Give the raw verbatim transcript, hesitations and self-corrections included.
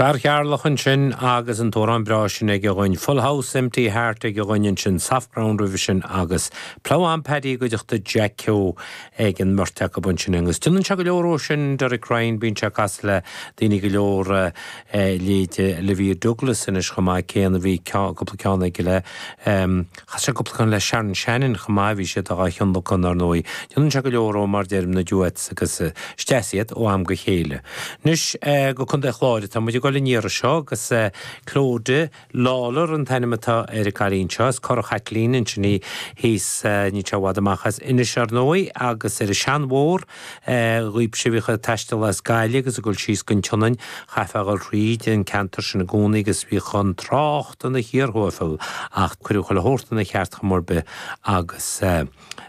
Fear Cheatharlach ansin agus an t-amhrán breá sin aige dhúinn Full House Empty Heart aige dhúinn ansin Soft Ground roimhe sin agus Plough on Paddy i gcuideachta Jack Keogh ag an mbeirt acu ansin agus déanann sé go leor ó sin Derek Ryan bíonn sé ag casadh le daoine go leor leithéid Olivia Douglas anois chomh maith céanna bhí cúpla ceann aige le chas sé cúpla ceann le Sharon Shannon chomh maith bhí siad á thionlacan ar ndóigh. Déanann sé go leor ó mar deirim na duets agus is deas iad ó am go chéile. Anois go Contae Chláir atá muid ag dul an iarraidh seo agus Clodagh Lawlor an t-ainm atá ar an gcailín seo is Cora Chaitlín ansin í thíos níl sé i bhfad amach as Inis ar ndóigh agus ar an seanbhóthar dhaoibhse a bhíodh ag taisteal as Gaillimh agus ag dul síos go Tionainn chaithfeá dul thríd an ceantar sin i gcónaí agus bhíodh an trácht ina chíor thuathail ach cuireadh chuile shórt ina cheart chuma ar bith agus